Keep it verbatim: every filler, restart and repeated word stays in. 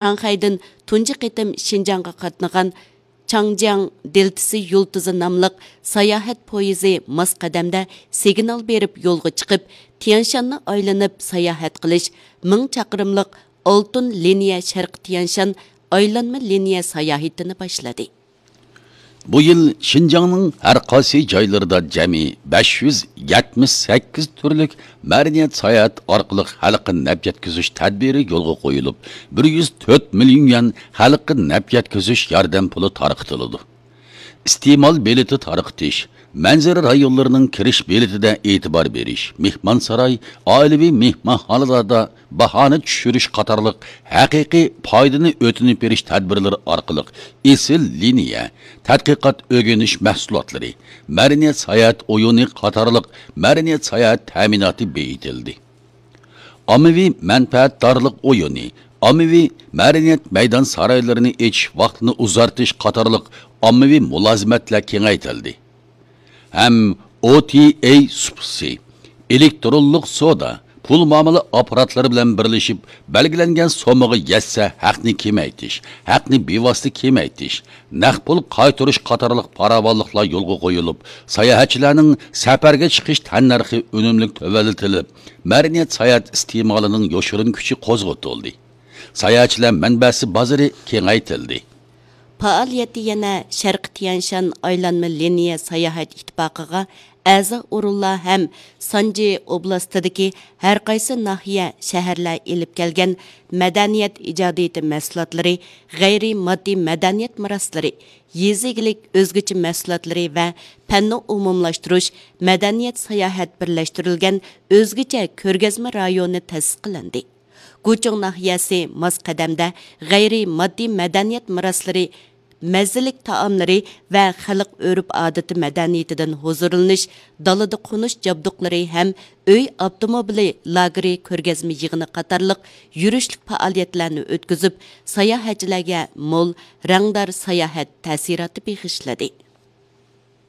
شاڭخەيدىن تۇنجى قېتىم شىنجاڭغا قاتنىغان چاڭجياڭ دېلتىسى يۇلتۇزى ناملىق ساياھەت پويىزى ماس قەدەمدە سىگنال بېرىپ يولغا چىقىپ، تيەنشاننى ئايلىنىپ ساياھەت قىلىش مىڭ چاقىرىملىق ئالتۇن لىنىيە شەرقىي تيەنشان ئايلانما لىنىيە ساياھىتىنى باشلىدى. بۇ يىل شىنجاڭنىڭ ھەر قايسى جايلىرىدا جەمئىي بەش يۈز يەتمىش سەككىز تۈرلۈك مەدەنىيەت ساياھەت ئارقىلىق ھەلقە نەپ يەتكۈزۈش تەدبىرى يولغا قويۇلۇپ، بىر يۈز تۆت مىليون يۈەن ھەلقە نەپ يەتكۈزۈش ياردەم پۇلى تارقىتىلىدۇ. ئىستېمال بېلىتى تارقىتىش، مەنزىرە رايونلىرىنىڭ كىرىش بېلىتىدە ئېتىبار بېرىش، مېھمانساراي، ئائىلىۋى مېھمانخانىلاردا باھانى چۈشۈرۈش قاتارلىق ھەقىقىي پايدىنى ئۆتۈنۈپ بېرىش تەدبىرلىرى ئارقىلىق ئېسىل لىنىيە، تەتقىقات ئۆگىنىش مەھسۇلاتلىرى، مەدەنىيەت ساياھەت ئويۇنى قاتارلىق مەدەنىيەت ساياھەت تەمىناتى بېيىتىلدى. ئاممىۋى مەنپەئەتدارلىق ئويۇنى، ئاممىۋى مەدەنىيەت مەيدان سارايلىرىنى ئېچىش ۋاقتىنى ئۇزارتىش قاتارلىق ئاممىۋى مۇلازىمەتلەر كېڭەيتىلدى. ھەم ئو تى ئەي سۇپىسى، ئېلېكترونلۇق سودا، پۇل مۇئامىلە ئاپپاراتلىرى بىلەن بىرلىشىپ، بەلگىلەنگەن سوممىغا يەتسە ھەقنى كېمەيتىش، ھەقنى بىۋاسىتە كېمەيتىش، نەق پۇل قايتۇرۇش قاتارلىق پاراۋانلىقلار يولغا قويۇلۇپ، ساياھەتچىلەرنىڭ سەپەرگە چىقىش تەننەرخى ئۈنۈملۈك تۆۋەنلىتىلىپ، مەدەنىيەت ساياھەت ئىستېمالىنىڭ يوشۇرۇن كۈچى قوزغىتىلدى. ساياھەتچىلەر مەنبەسى بازىرى كېڭەيتىلدى. پائالىيەتتە يەنە شەرقىي تيەنشان ئايلانما لىنىيە ساياھەت ئىتتىپاقىغا ئەزا ئورۇنلار ھەم سانجى ئوبلاستىدىكى ھەرقايسى ناھىيە، شەھەرلەر ئېلىپ كەلگەن مەدەنىيەت ئىجادىيىتى مەھسۇلاتلىرى، غەيرىي ماددىي مەدەنىيەت مىراسلىرى، يېزا ئىگىلىك ئۆزگىچە مەھسۇلاتلىرى ۋە پەننى ئومۇملاشتۇرۇش مەدەنىيەت ساياھەت بىرلەشتۈرۈلگەن ئۆزگىچە كۆرگەزمە رايونى تەسىس قىلىندى. گۇچۇڭ ناھىيەسى ماس قەدەمدە غەيرىي ماددىي مەدەنىيەت مىراسلىرى، مەززىلىك تائاملىرى ۋە خەلق ئۆرپ-ئادىتى مەدەنىيىتىدىن ھۇزۇرلىنىش، دالىدا قونۇش جابدۇقلىرى ھەم ئۆي ئاپتوموبىلى لاگېرى كۆرگەزمە يىغىنى قاتارلىق يۈرۈشلۈك پائالىيەتلەرنى ئۆتكۈزۈپ، ساياھەتچىلەرگە مول، رەڭدار ساياھەت تەسىراتى بېغىشلىدى.